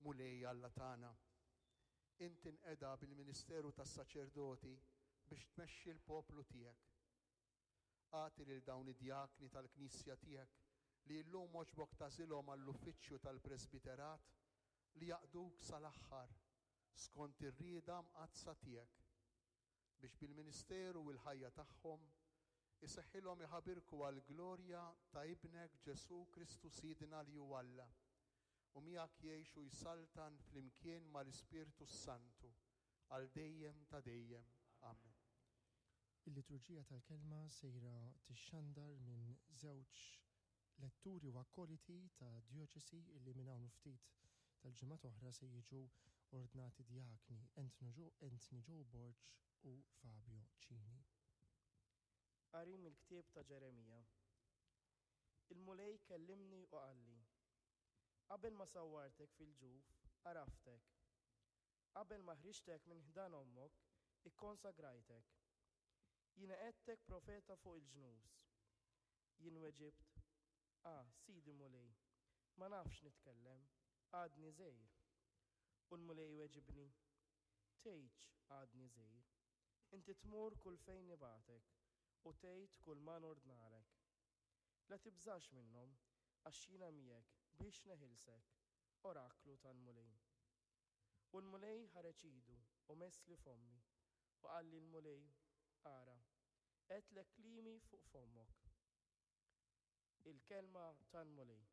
Mulej Alla tagħna, int inqeda bil-ministeru tas-saċerdoti biex tmexxi l-poplu tiegħek. Agħti lil dawn id-djakni tal-Knisja tiegħek li llum għoġbok tagħżilhom għall-uffiċċju tal-presbiterat li jaqduk sal-aħħar skont ir-rieda mqaddsa tiegħek, biex bil-ministeru u l-ħajja tagħhom iseħħilhom iħabirku għall-glorja ta' Ibnek Ġesù Kristu Sidna li hu Alla, u miegħek jgħix u jsaltan flimkien mal-Ispirtu s-Santu għal dejjem ta' dejjem. Amen. Il-Liturġija tal-Kelma sejra tixxandar minn żewġ letturi u akkoliti ta' djoċesi illi minn hawn u ftit tal-ġimgħat oħra se jiġu ordnati djakni, Anthony Joe Borg u Fabio Cini. Qari mill-ktieb ta' Ġeremija. Il-Mulej kellimni u qalli, Qabel ma sawwartek fil-ġuf, għaraftek. Qabel ma ħriġtek minn ħdan ommok, ikkonsagrajtek. Jiena qegħdtek profeta fuq il-ġnus. Jien weġibt, Ah, Sidi Mulej, ma nafx nitkellem, għadni żgħir. U l-Mulej weġibni, Tgħidx, 'Għadni żgħir. Inti tmur kull fejn nibagħtek, u tgħid kull ma nordnalek. La tibżax minnhom, għax jiena miegħek biex neħilsek, oraklu tal-Mulej. U l-Mulej ħareġ idu u messli fommi, u qalli l-Mulej, Ara, qegħdtlek kliemi fuq fommok. Il-kelma tal-Mulej.